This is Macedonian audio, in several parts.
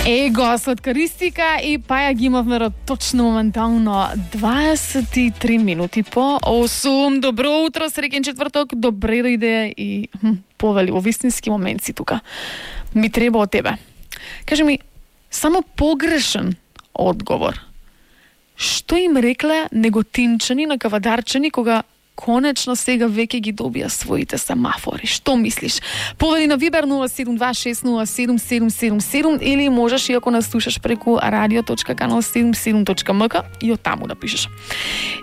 Его, сладкаристика и паја ги имавме точно моментално 23 минути по 8. Добро утро, среќен четврток, добре дојде и повели, во вистински момент си тука. Ми треба од тебе. Кажи ми, само погрешен одговор. Што им рекле неготинчани на кавадарчани кога конечно сега веќе ги добија своите семафори? Што мислиш? Повели на Вибер 072607777 или можеш, и ако нас слушаш преку radio.canal77.mk, и од таму да пишеш.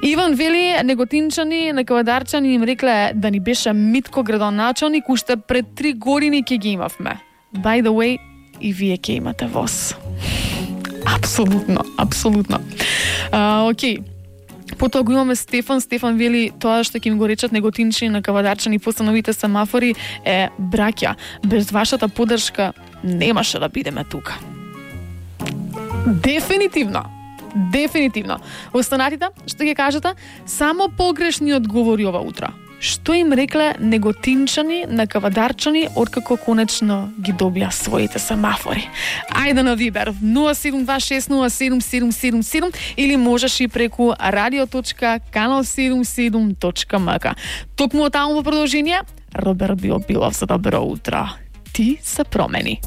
Иван вели, неготинчани на кавадарчани им рекле да ни беше Митко градоначалник, уште пред 3 години ќе ги имавме. By the way, и вие ќе имате воз. Апсолутно, апсолутно. Окей. Потоа го имаме Стефан. Стефан вели, тоа што ќе ми го речат неготинчани на кавадарчани после новите семафори е браќа. Без вашата поддршка немаше да бидеме тука. Дефинитивно. Дефинитивно. Останатите, што ќе кажете? Само погрешни одговори ова утро. Што им рекле неготинчани на кавадарчани откако конечно ги добија своите семафори? Ајде на Вибер 072607777 или можеш и преку radio.canal77.mk. Токму од таму во продолжение, Роберт Билов за добро утро. Ти се промени.